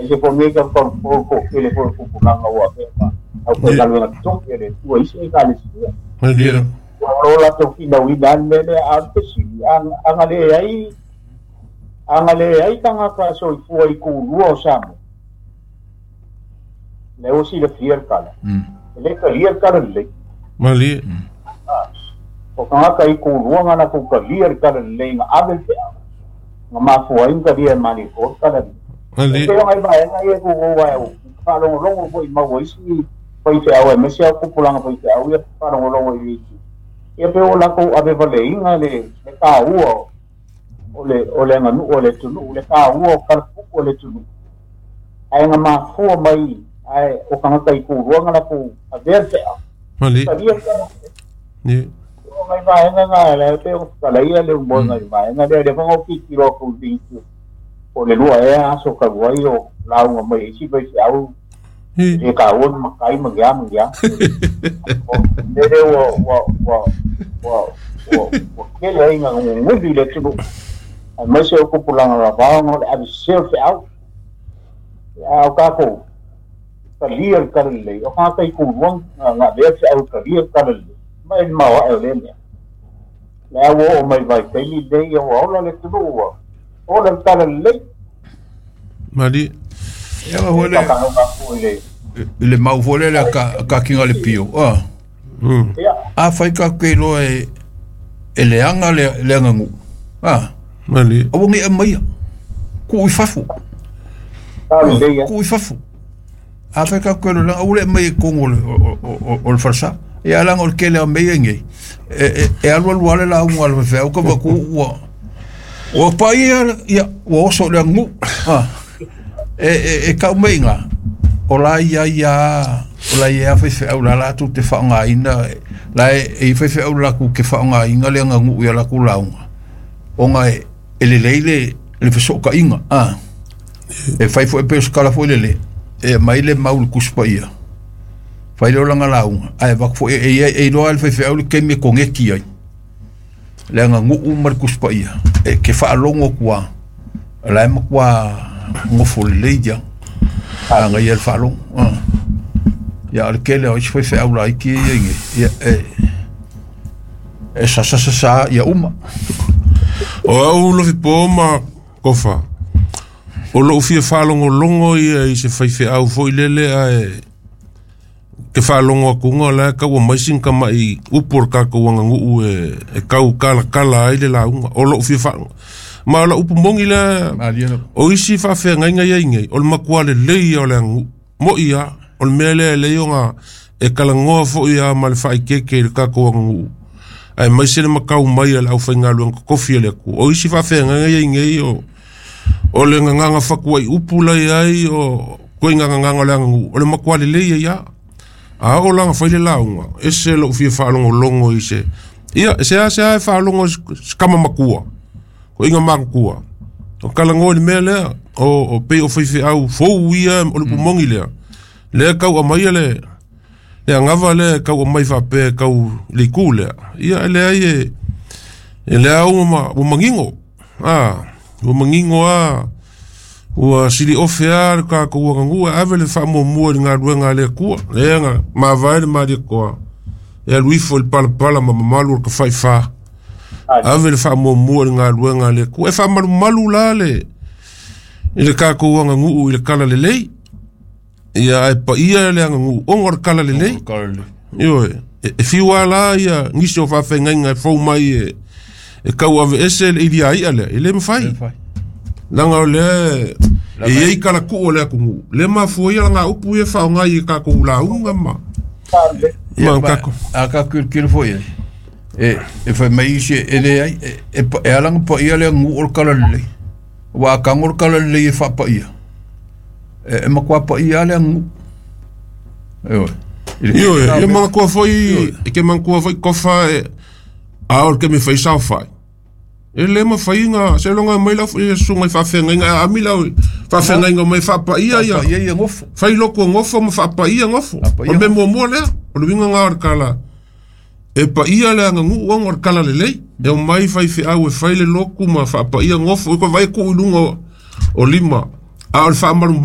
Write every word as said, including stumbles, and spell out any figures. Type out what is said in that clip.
Ese fo me ka ko ko kele fo ko pulanga wa pe ma au ko galuega totogi a le Atua i isi Ekalesia. Malie. Ua o latou finauina a le mea lea a o le fesili aga leai aga leai tagata soifua i kulua o Samoa lea ua silafia le tala e lē talia le tala lelei. Malie. O tagata i kulua na latou talia le tala lelei na ave le feau na mafua ai na talia e Malietoa le tala lelei. Malie. E pei o nai vaega ia tuuou ae ou faalogologo foi maua isi faifeau aemaise a tupulaga faifeau ia faalogologo i itu ia pe o latou avevaleiga le le taua o le o le aganuu o le atunuu le taua o kalapupu o le atunuu ae na mafua mai ae o tagata i kulua na latou avea le feau Malie. talia le tala Ie. o nai vaega na lea pe o talaia le umoega i vaega lea lea fana o tilotilo atu i itu o le lua ea aso talu ai o lauga mai isi faifeau Ie. e taua le matai ma lea ma lea o le lea ua ua ua ua ua ua tele ai gaguguli i le atunuu aemaise o tupulaga lavao o le avesese o le feau a o tatou talia le tala lelei o tagata i kulua na avea le feau e talia le tala lelei ma e le maoae o lea mea lea ua oo mai vaitaimi lenei ua ola le atunuu ua ola le tala lelei. Malie. Ia foi E le faatalofa atu i le i le mau foi lele a ka ka kinga le pio. Ah. Mm. Ia A fai ka ke loa e e leaga le le aganu'u. Ah. Malie. Aua nei aumaia. Tuu i fafo. Tala lelei a Tuu i fafo. A fai ka ke loa aua le aumaia i totonu o le o o o le falesa. Ia leaga o le tele o mea ia nei. E e e alualu lava le lauga a le faifeau ka vaku ua ua paia ia ua oso i le aganu'u. Ah. E e e tau mai iga o la ia ia o la ia faifeau la latou te faaaogaina la e e i faifeau latou te faaaogaina le aganu'u ia latou lauga ona e e lelei le le fesootaiga a e fai foi pe o se tala foi lele e aumai le mau i le Tusi Paia fai lea o lana lauga ae avatu foi e ia e iloa e le faifeau le taimi e koneti ai le aganu'u ma le Tusi Paia e ke faalogo atu a la e matua nofo lelei ia agaia le faalogo a ia o le tele o isi faifeau laiti ia i nei ia e e sasasasā ia uma. O au lofipo ma kofa. O lou fia faalogologo ia i se faifeau foi lele ae ke faalogo atuga o la e tau aumai sina tama'i upu o le tatou aganuu e e tau kalakala ai le lauga. O lou fia faalogo. Ma o lau upu moni lea Malie lava. o isi faafeagaiga ia i nei o le matua lelei ia o le aganuu. Mo'i a o le mea lea e lelei ona e talanoa foi a ma le faaikeike i le tatou aganuu. Aemaise le matau mai a le aufaigaluega totofi a le Atua. O isi faafeagaiga ia i nei o o le gagaga fatuai upu la iai o koiga gagaga o le aganuu o le matua lelei ai a. A oo la ona fai le lauga, ese lou fia faalogologo i se ia e seasea e faalogo i se kama matua, koiga matutua. O talanoa i le mea lea, o o pei o faifeau fou ia o le upu moni lea. Lea e tau aumaia le le agava lea e tau aumai faapea e tau i le itu lea. Ia e leai e e lea ua ma ua manino. A, ua manino lava ua sili ofe lava le tatou aganuu e ave le faamuamua i le galuega a le Atua. Lea na mavae le Malietoa e alu ifo i le palapala ma mamalu o le tafaifa. Ave le faamuamua i le galuega a le Atua. E faamalumalu la le i le tatou aganuu i le talalelei. Ia ae paia le aganuu ona o le talalelei. Ioe, e, e fiu lava la ia nisi o faafeagaiga e fou mai e e tau aveese le iliaia lea, e le mafai. Leaga o lea e i ai talatuu o le atunuu, lea e mafua ai alagaupu ia faaaoga i tatou lauga ma Ia ma ma tatou. a tatou tilotilo foi i ai e e fai mai isi e leai e e e ala ona paia le aganuu o le talalelei aua a tago le talalelei e faapaia e e matua paia lava le aganuu. Ioe. I le Ioe, tele ia o mea. manatua foi Ioe. e ke manatua foi kofa e a o le taimi e fai saofai. E le mafai ona seiloga mai lau susuga i faafeagaiga e aami lau faafeagaiga mai faapaia ia. Faapaia ia gofo. Fai lotu e gofo ma faapaia gofo. O le Faapaia mea gofo. muamua lea, o le uiga lena o le tala. E paia le aganuu ona o le talalelei. E omai faifeau e fai le lotu ma faapaia gofo. E vaai tuu i luga o, o lima. A o le faamalumalu